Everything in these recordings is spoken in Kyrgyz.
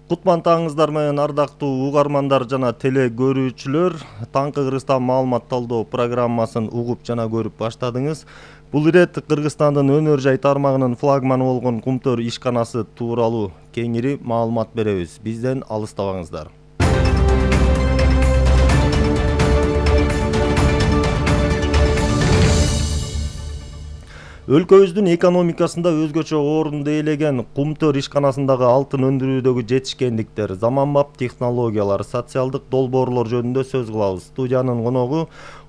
Кутман таңыңыздар менен ардактуу угармандар жана теле көрүүчүлөр. Таңкы Кыргызстан маалымат талдоо программасын угуп жана көрүп баштадыңыз. Бул ирет Кыргызстандын өнөр жай тармагынын флагманы болгон Кумтөр ишканасы тууралуу кеңири маалымат беребиз. Бизден алыстабаңыздар. Өлкөбүздүн экономикасында өзгөчө орунду ээлеген Кумтөр ишканасындагы алтын өндүрүүдөгү жетишкендиктер, заманбап технологиялар, социалдык долбоорлор жөнүндө сөз кылабыз. Студиянын коногу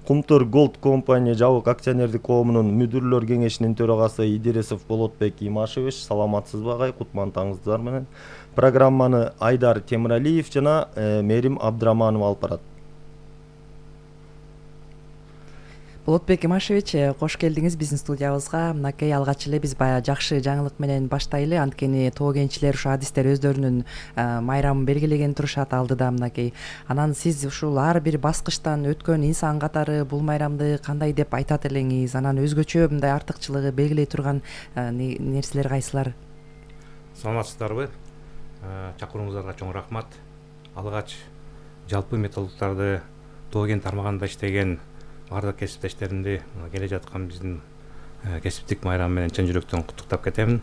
Кумтөр Gold Company жабык акционердик коомунун мүдүрлөр кеңешинин төрагасы Идирисов Болотбек Имашевич. Саламатсызбы агай? Кутман таңыңыздар менен. Программаны Айдар Темиралиев жана Мерим Абдыраманова алып барат. Болотбек Имашевич, кош келдиңиз биздин студиябызга. Мынакей алгач эле биз баягы жакшы жаңылык менен баштайлы. Анткени тоо кенчилер ушу адистер өздөрүнүн майрамын белгилеген турушат алдыда мынакей. Анан сиз ушул ар бир баскычтан өткөн инсан катары бул майрамды кандай деп айтат элеңиз? Анан өзгөчө мындай артыкчылыгы белгилей турган нерселер кайсылар? Саламатсыздарбы? Чакырууңуздарга чоң рахмат. Алгач жалпы металлургтарды тоо кен тармагында иштеген бардык кесиптештеримди келе жаткан биздин кесиптик майрам менен чын жүрөктөн куттуктап кетемин.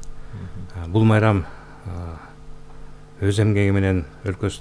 Бул майрам өз эмгеги менен өлкөсүнүн